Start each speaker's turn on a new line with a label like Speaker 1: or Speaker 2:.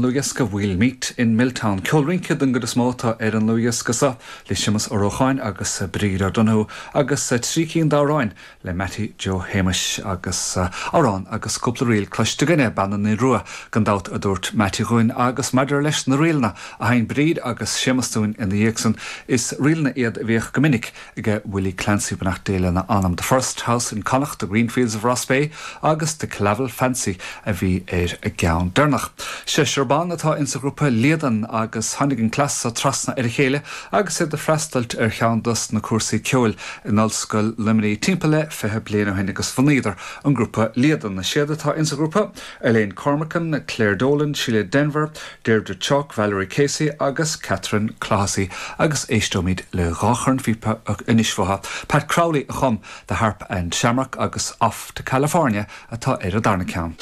Speaker 1: ndlúthdhiosca We'll Meet in Milltown. Ceol rince den gcuid is mó atá ar an ndlúthdhiosca seo le Séamus Ó Rócháin agus Bríd O'Donoghue agus 3 cinn d'amhráin le Mattie Joe Shéamuis agus amhrán agus cúpla ríl cloiste againne, Bean na Rua gan dabht a dúirt Mattie dhúinn agus maidir leis na ríleanna a sheinn Bríd agus Séamus dúinn ina dhiaidh san, is ríleanna iad a bhíodh go minic aige Willie Clancy, beannacht Dé lena anam. The First House in Connacht, The Greenfields of Rossbeigh agus The Killavil Fancy a bhí ar an gceann deireanach. Seisear ban atá insa ghrúpa Líadan agus tháinig an cleas so trasna ar a chéile agus iad ag freastailt ar cheann dos na cúrsaí ceoil in Ollscoil Luimnigh timpeall le 20 bliain ó shin agus bhunaíodar an grúpa Líadan. Is iad atá insa ghrúpa, Elaine Cormican, Claire Dolan, Síle Denvir, Deirdre Chawke, Valerie Casey agus Catherine Clohessy agus éisteoimid le dhá chornphíopa anois uathu. Pat Crowley a chum The Harp and Shamrock agus Off to California atá ar an darna ceann.